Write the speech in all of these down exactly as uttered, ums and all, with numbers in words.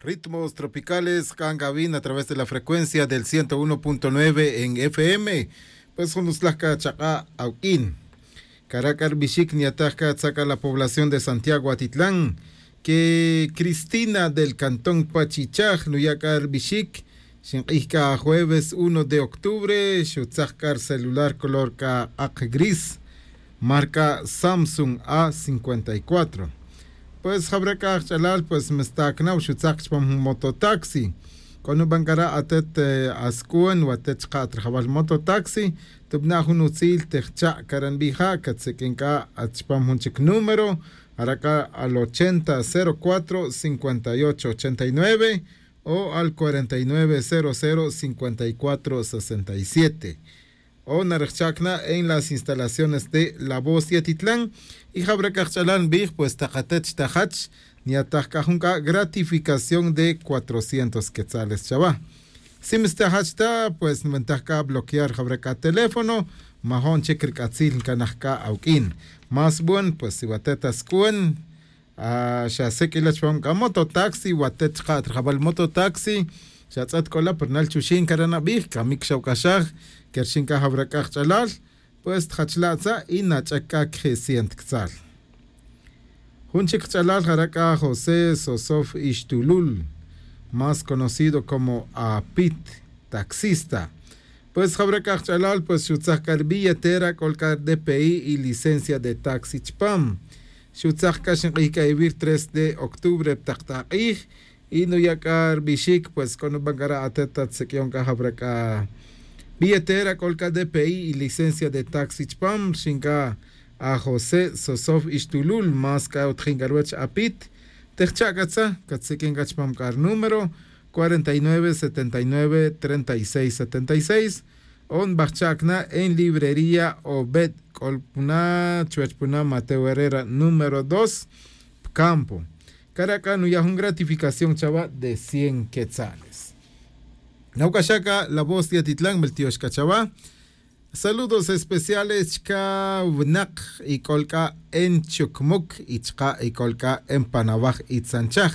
Ritmos tropicales, cangavin a través de la frecuencia del ciento uno punto nueve en F M. Pues jun utzlaj c'a chak'a' awq'uin. Cara' c'a rbixic niyataj c'a tzak c'a la población de Santiago Atitlán, que Cristina del cantón Pachichaj nuya' c'a rbixic. Xink'ij c'a jueves uno de octubre xutzaj c'a rcelular color c'a k'ak gris, marca Samsung A cincuenta y cuatro. Pues jawra' c'a ajch'alal, pues mistacnaw xutzaj chupam jun mototaxi. C'o nuban c'a ra' atet asc'uon watet chka' at rajawal mototaxi, tubna' jun utzil tejcha' cara' nbija' catseq'uin c'a at chupam jun chic número, jara' c'a al ochenta cero cuatro cincuenta y ocho ochenta y nueve, o al cuarenta y nueve cero cero cincuenta y cuatro sesenta y siete. O narejcha' cana' en las instalaciones de la voz yatitlán. Y jawra' c'a ajch'alal nbij, pues takatet xtajach niyataj c'a jun c'a gratificación de cuatrocientos quetzales chawa. Si mistajach ta, pues nbantaj c'a bloquear jawra' c'a teléfono, majo'n chic rc'atzil ncanaj c'a awq'uin. Más bon, pues si watet asc'uon, xasic' ila chupam c'a mototaxi watet chka' at rajawal mototaxi, xatz'et c'ola pero nal chuxin cara' nabij camic xawc'axaj. Querxin c'a jawra' c'a kach'alal, pues tjachla' tza' y nach'ec c'a queje' cien tctzal. Jun chic kach'alal jara' c'a josé sosof ixtulul, más conocido como apit, taxista. Pues jawra' c'a kach'alal pues xutzaj c'a ribilletera c'ol c'a rdpi y licencia de taxi chupam. Xutzaj c'a xink'ij c'a ivir tres de octubre pa tak tak'ij. Y nuya' c'a rbixic pues c'o nuban c'a ra' atet at siq'uion c'a jawra' c'a billetera c'ol c'a dpi y licencia de taxi chupam rxin c'a, a josé sosof ixtulul más c'a utjin c'a ruwech apit. Tejcha' c'a tza catsiq'uin c'a chupam c'a rinúmero, cuarenta y nueve setenta y nueve treinta y seis setenta y seis. O nbajcha' cana' en librería obed c'ol puna chuwech puna mateo herrera número dos, pcampo. Cara' c'a nuya' jun gratificación chawa de cien quetzales. Nawc'axa' c'a la voz de atitlan meltiox c'a chawa. Saludos especiales chca winak y c'ol c'a en chucmuc y chka' y c'ol c'a en panawaj y tzanchaj.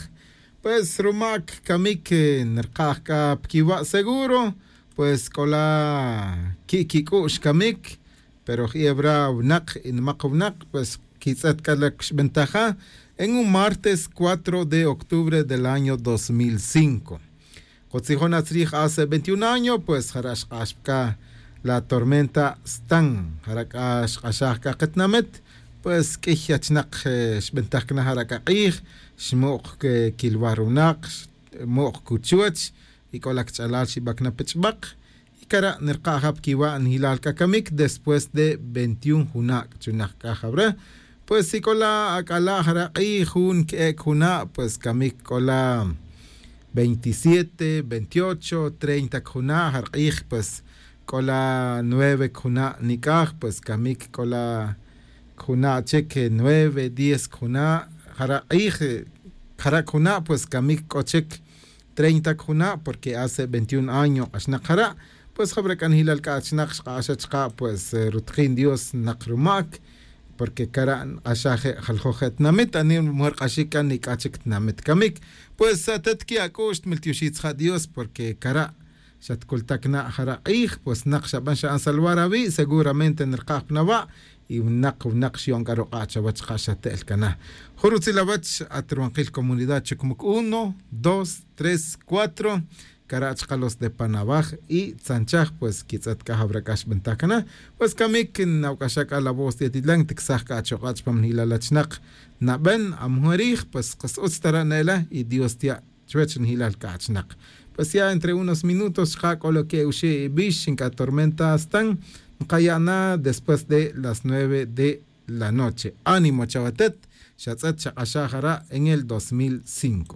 Pues rumac camic nrkaj c'a pquiwa' seguro, pues c'ola qui' quic'u'x camic. Pero jebra winak y nimak winak pues quitz'et c'a la xbentaja en un martes cuatro de octubre del año dos mil cinco. Kutzijon atzrij hace veintiun año pues jara' xk'ax pa c'a la tormenta stan jara' c'a xk'axaj c'a ketinamit. Pues q'uiy achinak xbintaj cana jara' c'a k'ij, xmuk' quilwar winak, xmuk' cuchuch, y c'o la cach'alal xiba cana pa ch'ibak. Y cara' nirka' ja pa quiwa' nijilal c'a camic después de veintiun juna' chunak c'a jawre'. Pues si c'o la ac'ala' jara' k'ij jun que'ec juna' pues camic c'o la veintisiete veintiocho treinta cjuna' jara' k'ij. Pues c'o la nueve cjuna' nic'aj pues camic c'o la cjuna' chic nueve diez cjuna' jara' k'ij. Jara' cjuna' pues camic c'o chic treinta cjuna' porque hace veintiun año k'axnak jara'. Pues jawre' c'a nijilal c'a achinak xk'axa chka' pues rutjin dios nak rumac. Porque cara' nk'axa je' jaljoj je' tinamit anima mujer k'axic c'a nic'a chic tinamit camic. Pues atet qui' ac'u'x tmiltioxij tzija' dios porque cara' xatcultac na jara' k'ij pues nak xaban xa'an salvar awi' seguramente nrkaj pa nawa'. Y winak winak xyo'n c'a ruk'a' chawech ka xate'el cana. Jun rutzil awech at ruwankil comunidad chucmuc uno dos tres cuatro. Cara' chka los de panawaj y tzanchaj pues quitz'et c'a jawra' c'a xbintaj cana. Pues camic nawc'axa c'a la voz de atitlan ticsaj c'a achuk'a' chupam nijilal achinak. Naben amujerij pues kas utz tara' ne'ela y dios tiya' chuwech nijilal c'a achinak. Pues ya entre unos minutos chka' c'o lo que oxi' ibix xinc'a tormenta stan nkaya' na después de las nueve de la noche. Ánimo chawatet. Xatz'et xak'axaj jara' en el dos mil cinco.